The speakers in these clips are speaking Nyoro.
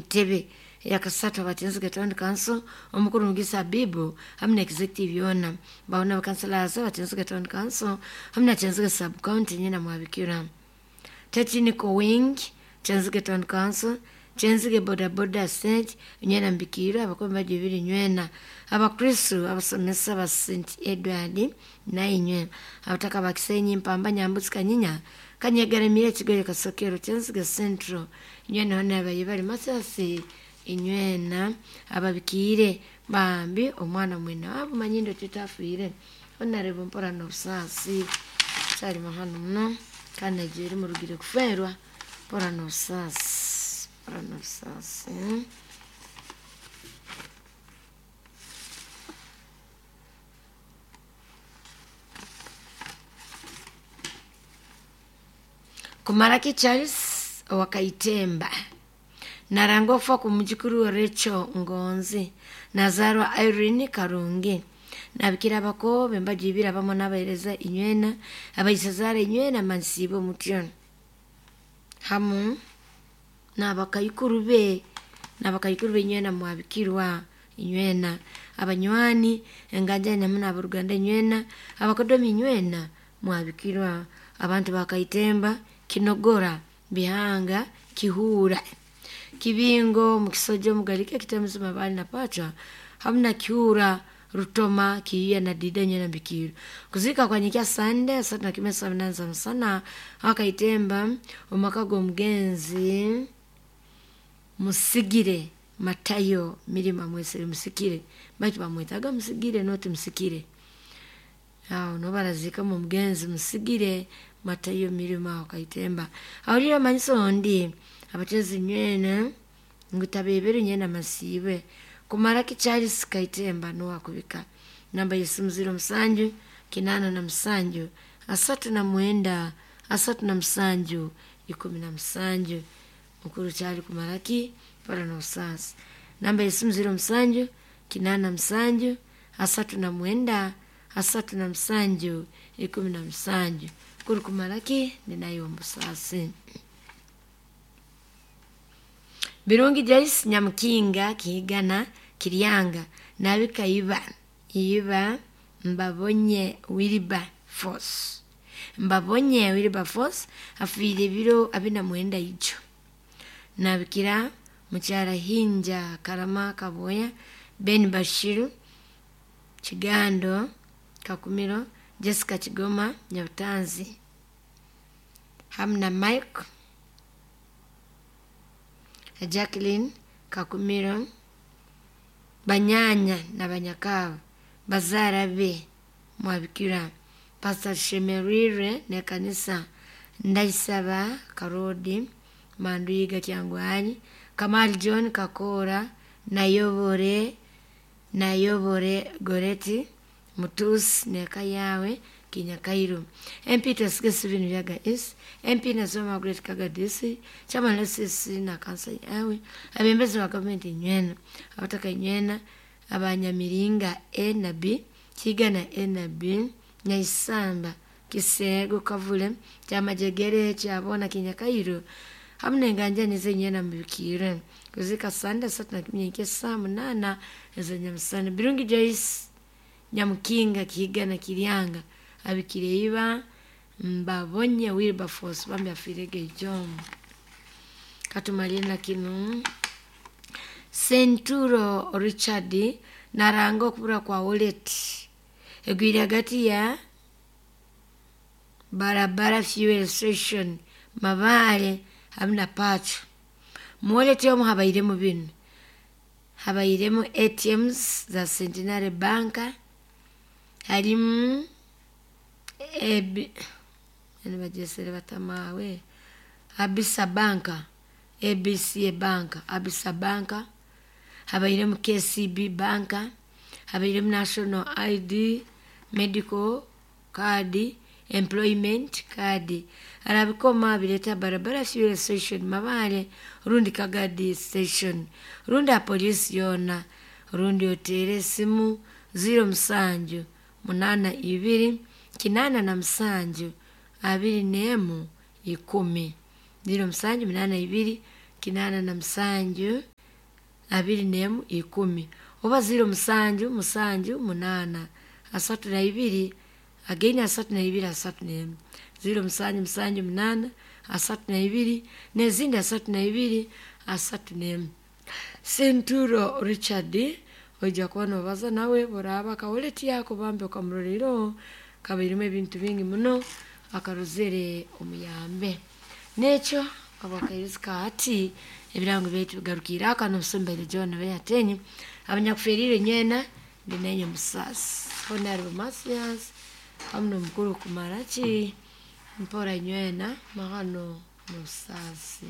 Ntebe yakasatu abatinzige town council omukuru Mugisa Habibu hamwe na executive yona baona bakansalaza abatinzige town council hamwe na Kyenzige sub county nyina mwabikira Technical wing Kyenzige town council Kyenzige boda boda stage nywena mbikira abakomi bajibiri nywena abakristu abasomesa ba St Edward nainywe abataka bakisenyi mpamba nyambutsi kanyinya kanyegeremire kigoye kasokero Kyenzige Central nywena hona abayibali masasi inywena ababikiire bambi omwana mwena abo manyindo tutafiire onarebo mpora n'obusaasi kyali mahano muno kandi nagiire murugire kuferwa mpora n'obusaasi mpora n'obusaasi. Kumaraki Charles owakaitemba naranga okufa ku mujukuru we Rachel Ngonzi nazarwa Irene Karungi nabikira abakobe mbajibira bamwe n'abahereza inywena abaisazara inywena mansiibe omutyo hamu n'abakaikuru be n'abakaikuru be inywena mwabikirwa inywena abanywani enganjani hamu n'aboruganda inywena abakodomi inywena mwabikirwa abantu bakaitemba kinogora bihanga kihura kibingo mukisojo mugalike kitemuzi mabali na pacha hamna kihura rutoma kiiya na dida nyena bikiru kuzika kwa nyikia sande satu na kimesa mnanza msana akaitemba omaka g'omugenzi musigire matayo mirima mwesere musikire baitu bamwetaga musigire noti musikire awo nobarazika mu mugenzi musigire matayo mirima akaitemba awulira manyiso ondi abatezi nywena ngutabebere nyena masiibwe kumaraki Charles Kaitemba nowakubika namba yesimu 07 87 39 37 17 mukuru Charles kumaraki pala n'obusaasi namba yesimu 07 87 39 37 17 mukuru kumaraki ninayo omubusaasi. Birungi Joyce Nyamukinga Kihigana Kiryanga nabika iba iba mbabonye Wilberforce mbabonye Wilberforce afiire ebiro 49 ijo nabikira mukyara Hinja Karama Kaboya Ben Bashiru Kigando Kakumiro Jessica Kigoma Nyabutanzi hamu na Mike Jacqueline Kakumiro banyanya na banyakabo bazaara be mwabikira Pastor Shemerire nekanisa Ndaisaba Karodi Manduiga Kyangwanyi Kamali John Kakora Nayobore Nayobore Goreti Mutusi neka yawe Kinyakairu MP Tosige Steven Vyaga is MP Nasoma Margaret Kagadisi chama lesisi na kansa yawe abembezi ba gavumenti nywena abataka nywena abanyamiringa A na B Kigana A na B Nyaisamba Kisego Kavule kyamajegere kyabona Kinyakairu hamu nenganjani zenywena mubikire kuzika sande satu na kimye saa munana ez'enyamusana Birungi Joyce Nyamukinga Kihigana Kiryanga abikire iba mbabonye Wilberforce bambi afiirege ijo katumalire na kinu Senturo Richard naranga okubura kwa wallet egwire hagati ya barabara fuel station Mabaale hamu na Pacho mu wallet omu habairemu binu habairemu ATMs za Centenary Bank harimu bagyesere batamawe Abisa Bank ABCA Bank Abisa Bank habairemu KCB Bank habairemu National ID Medical Card Employment Card arabikoma bireeta barabara fuel station Mabaale rundi Kagadi station rundi a poliisi yoona rundi oteere esimu 07 82 87 21 10 07 82 87 21 10 oba 07 7 8 32 again 32 31 07 7 8 32 n'ezindi 32 31. Senturo Richard oija kuba nobaza nawe buraaba akawoleti yako bambi okamurorero kabairimu ebintu bingi muno akarozere omuyambe nekyo abakairizi kaati ebirango byaitu bigarukire aka nomusombaire John Beyatenyi abanyakuferiire nyena ndi nenye musasi Honorable Mathias hamu nomukuru kumaraki mpora nywena mahano musasi.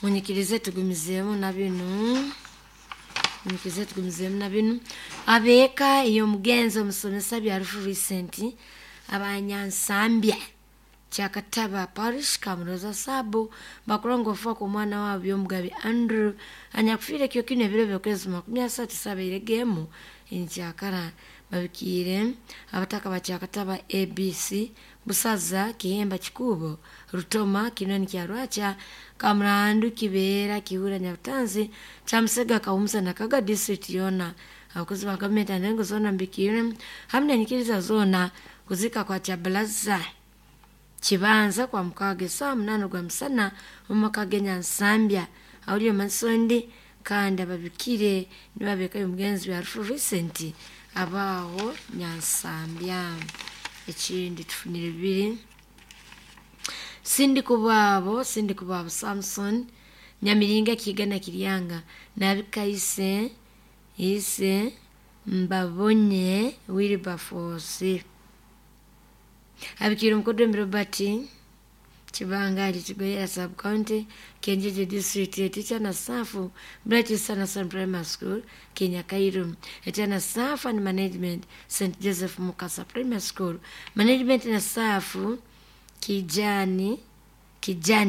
Munyikirize tugumizeemu na binu, munyikirize tugumizeemu na binu. Abeeka ey'omugenzi omusomesa byarufu Vincent abanyansambya Kyakataba Parish Kamuroza Sabo bakulongofa ku mwana waabo Byomugabe Andrew anyakufiire kyo kino ebiro by'okwezi 30 sabaire enkyakara babikiire abataka ba Kyakataba ABC Busaza Kihemba Kikubo Rutoma Kinoni Kyarwacha Kamurandu Kibeera Kihura Nyabutanzi Kyamusega Kawumusa na Kaga district yona abakozi ba gavumenti anengo zoona mbikiire hamu n'enyikiriza zoona kuzika kwa Kyabalaza Kibanza kwa mukaaga esaawa 8 gwa musana omu maka g'enyansambya awuli omasondi kandi ababikire nibabeekayo omugenzi byarufu Vincent abaaho nyansambya. Ekindi tufunire bibiri Sindikubwabo Samson Nyamiringa Kigana Kiryanga nabikaise ise Mbabonye Wilberforce abikire omukodomi Robert Kibanga ali Kigoyera sub county Kenjeje district teacher na staff Bright Sanderson Primary School Kenya Kairu etiana staff and management St Joseph Mukasa Primary School management na staff Kijani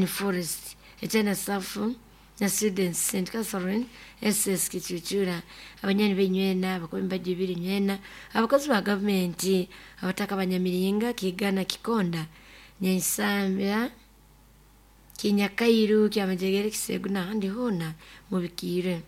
Forest etiana staff na students St Catherine SS Kichuchura abanyani benywena abakomi bajibiri nywena abakozi ba gavumenti abataka banyamiringa Kigana Kikonda Nyansambya Kinyakairu Kyamajegere Kisegu n'ahandi hoona mubikiire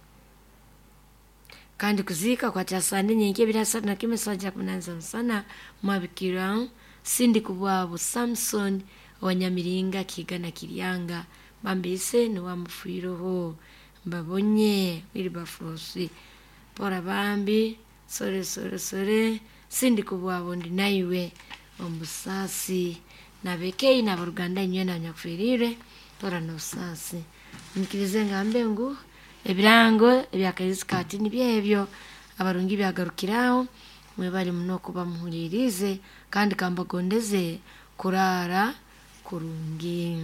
kandi kuziika kwa kyasande nyenke ebiri asatu na kimwe saawa kya musana mwabikira Sindikubwabo Samson Wanyamiringa Kigana Kiryanga bambiise niwamufiireho Mbabonye Wilberforce pora bambi sore sore sore Sindikubwabo ndi naiwe omusaasi nabekei nabaruganda inywe nanyakufiriire tora nobusaasi nyikirize ngambe ngu ebirango ebyakaizi kati nibyo ebyo abarungi byagarukiraho mwebali muno kuba muhulirize kandi kambagondeze kurara kurungi.